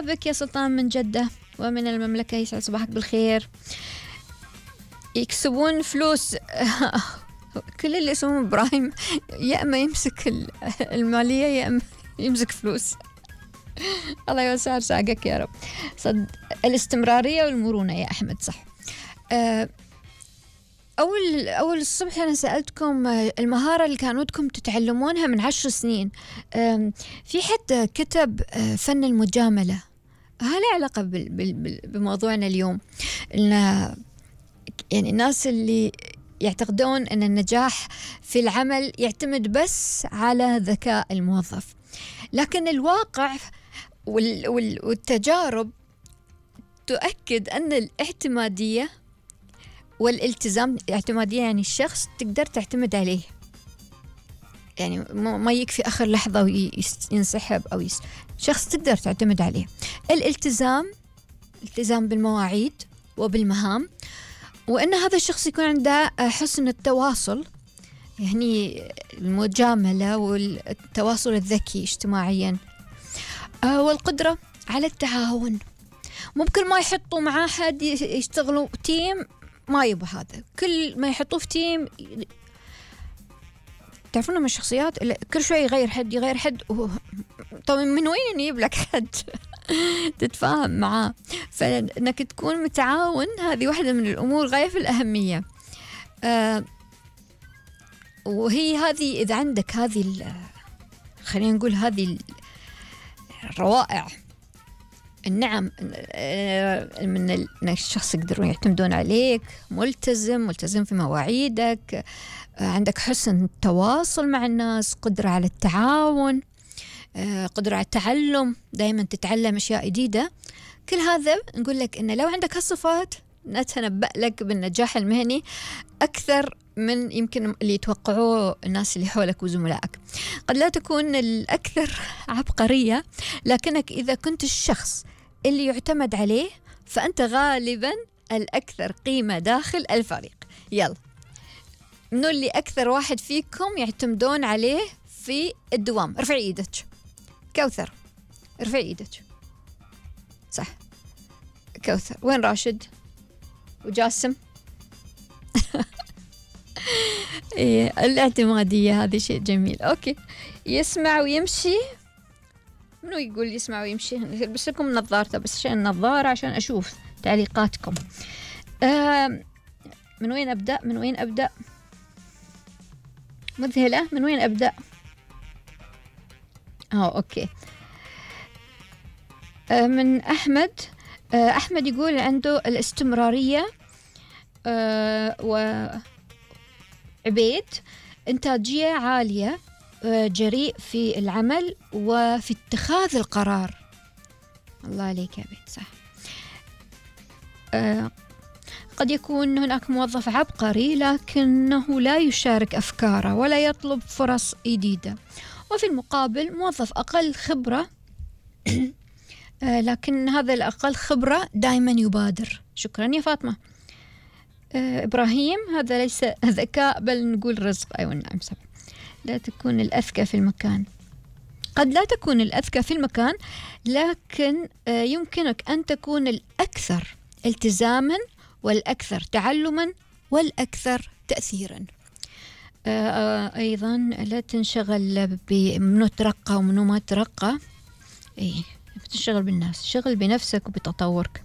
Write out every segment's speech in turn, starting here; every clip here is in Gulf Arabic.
بك يا سلطان من جدة ومن المملكة، يسعد صباحك بالخير. يكسبون فلوس كل اللي اسمه إبراهيم يا أما يمسك المالية يا أما يمسك فلوس. الله يوسع ساقك يا رب. صد الاستمرارية والمرونة يا أحمد، صح. أول الصبح أنا سألتكم المهارة اللي كان ودكم تتعلمونها من 10 سنين. في حد كتب فن المجاملة، ها له علاقة بموضوعنا اليوم. يعني الناس اللي يعتقدون أن النجاح في العمل يعتمد بس على ذكاء الموظف، لكن الواقع والتجارب تؤكد أن الاعتمادية والالتزام، اعتمادية يعني الشخص تقدر تعتمد عليه، يعني ما يكفي آخر لحظة وينسحب أو شخص تقدر تعتمد عليه. الالتزام بالمواعيد وبالمهام، وأن هذا الشخص يكون عنده حسن التواصل، يعني المجاملة والتواصل الذكي اجتماعيا، والقدرة على التعاون. ممكن ما يحطوا معاه حد يشتغلوا تيم، ما يبغى هذا، كل ما يحطوه في تيم تعرفون من الشخصيات كل شوي يغير حد طبعا من وين يجيب لك حد تتفاهم معاه؟ فإنك تكون متعاون هذه واحدة من الأمور غاية في الأهمية. وهي هذه إذا عندك هذه خلينا نقول هذه الروائع النعم من الشخص يقدرون يعتمدون عليك، ملتزم في مواعيدك، عندك حسن التواصل مع الناس، قدرة على التعاون، قدرة على التعلم، دائما تتعلم أشياء جديدة. كل هذا نقول لك إن لو عندك هالصفات نتنبأ لك بالنجاح المهني أكثر من يمكن اللي يتوقعوه الناس اللي حولك وزملائك. قد لا تكون الأكثر عبقرية، لكنك إذا كنت الشخص اللي يعتمد عليه فأنت غالبا الأكثر قيمة داخل الفريق. يلا، منو اللي أكثر واحد فيكم يعتمدون عليه في الدوام؟ ارفعي ايدك. كوثر ارفعي ايدك. صح، كوثر. وين راشد وجاسم؟ إيه، الاعتمادية هذه شيء جميل. أوكي، يسمع ويمشي. منو يقول يسمع ويمشي؟ بس لكم نظارته، بس عشان النظارة عشان أشوف تعليقاتكم. من وين أبدأ؟ مذهلة. من وين أبدأ؟ أوكي. من أحمد. أحمد يقول عنده الاستمرارية، وعبيد إنتاجية عالية، جريء في العمل وفي اتخاذ القرار. الله عليك يا عبيد، صح. قد يكون هناك موظف عبقري لكنه لا يشارك أفكاره ولا يطلب فرص جديدة، وفي المقابل موظف أقل خبرة لكن هذا الأقل خبرة دائما يبادر. شكرا يا فاطمة. إبراهيم، هذا ليس ذكاء بل نقول رزق. أيوة نعم، صح. لا تكون الأذكى في المكان. قد لا تكون الأذكى في المكان، لكن يمكنك أن تكون الأكثر التزاما والأكثر تعلما والأكثر تأثيرا. أيضا لا تنشغل بمنو ترقى ومنو ما ترقى. تشتغل بالناس، شغل بنفسك وبتطورك.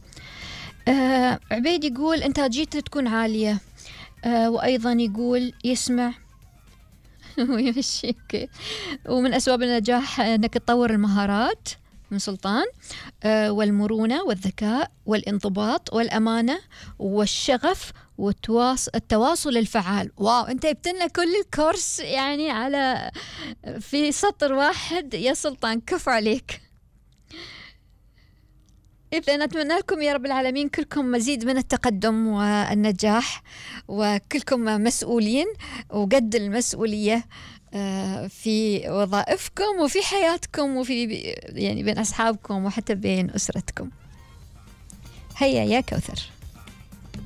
عبيد يقول إنتاجيته تكون عالية، وأيضا يقول يسمع ويمشي. ومن أسباب النجاح أنك تطور المهارات. من سلطان. والمرونة والذكاء والانضباط والأمانة والشغف والتواصل الفعال. واو، أنت جبتلنا كل الكورس يعني على في سطر واحد يا سلطان، كفو عليك. إذا نتمنى لكم يا رب العالمين كلكم مزيد من التقدم والنجاح، وكلكم مسؤولين وقد المسؤولية في وظائفكم وفي حياتكم وفي يعني بين أصحابكم وحتى بين أسرتكم. هيا يا كوثر.